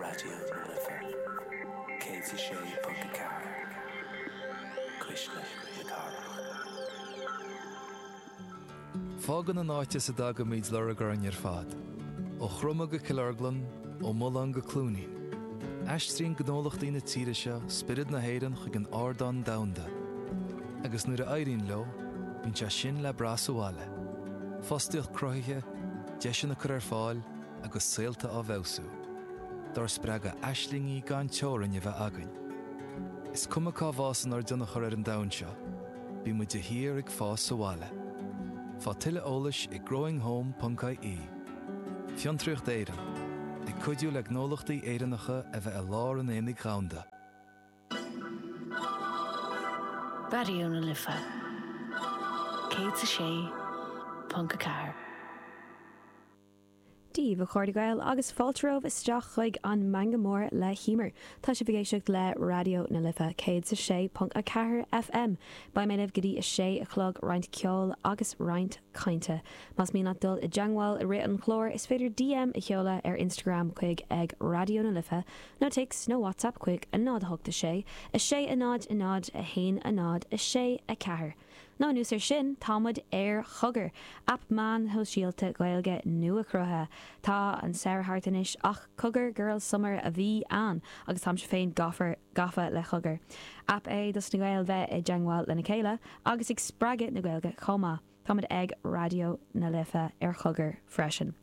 Raidió na Life 106.4, Cuisle na Cathrach. Fágann an áit as a dtagaimid lorg orainn ar fad. Ó Chroma go Cill Orglan, ó Mullán go Cluainín. Aistríonn gnólachtaí na tíre seo spiorad na hÉireann chuig an ardán domhanda. Agus nuair a éiríonn leo, bíonn sé sin le brath sa bhaile. Fostaíocht cruthaithe, deiseanna curtha ar fáil agus saolta á bhfeabhsú. Dár spreagadh aislingí gan teorainn a bheith againn. Is cuma cá bhfásann ár dtionchar ar an domhan seo, bíonn muid de shíor ag fás sa bhaile. Faigh tuilleadh eolais ag growinghome.ie. Fiontraíocht Éireann, ag cuidiú le gnólachtaí Éireannacha a bheith i lár an aonaigh dhomhanda. Raidió na Life 106.4. Dia daoibh a chairde Gael agus fáilte romhaibh isteach chuig an Meangadh Mór le hEmer. Tá sibh ag éisteacht le Raidió na Life 106.4 FM. Beidh mé libh go dtí a sé a chlog, roinnt ceoil agus roinnt cainte. Más mian leat dul i dteangmháil i rith an chláir is féidir DM a sheoladh ar Instagram chuig ag Raidió na Life nó téacs nó WhatsApp chuig 0 8 6 6 0 0 1 0 6 4. Nó anuas air sin, tá muid ar Chogar, aip meán shóisialta Gaeilge nua-chruthaithe. Tá an samhradh thart anois ach Cogar Girl Summer a bhí ann agus táimse féin gafa gafa le Cogar. Aip é dos na Gaeil bheith i dteangmháil lena chéile agus ag spreagadh na Gaeilge chomh maith. Táimid ag Raidió na Life ar Chogar freisin.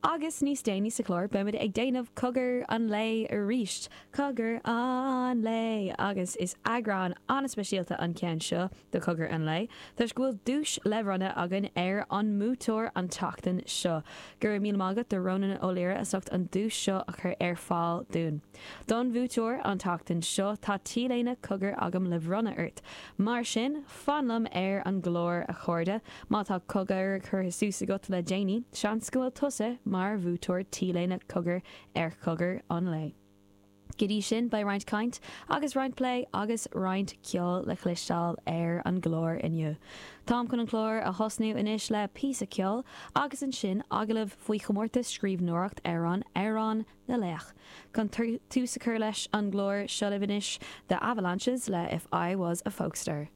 Agus níos déanaí sa chlár beimid ag déanamh Cogar an Lae arís! Cogar an Lae! Agus is eagrán an-speisialta an ceann seo de Chogar an Lae toisc go bhfuil duais le bronnadh againn ar an mbuaiteoir an tseachtain seo. Go raibh míle maith agat do Rónán Ó Laoire as ucht an duais seo a chur ar fáil dúinn. Don bhuaiteoir an tseachtain seo tá T-léine Cogar agam le bhronnadh ort. Mar sin, fan liom ar an gclár, a chairde. Má tá cogar curtha suas agat le déanaí, seans go bhfuil tusa mar bhuaiteoir T-léine Cogar ar Chogar an Lae. Go dtí sin, beidh roinnt caint agus roinnt plé agus roinnt ceoil le cloisteáil ar an gclár inniu. Táim chun an clár a thosnú anois le píosa ceoil agus ansin agallamh faoi chomórtas scríbhneoireacht amhrán Amhrán na Laoch. Chun tús a chur leis an gclár, seo libh anois The Avalanches le If I Was a Folkstar.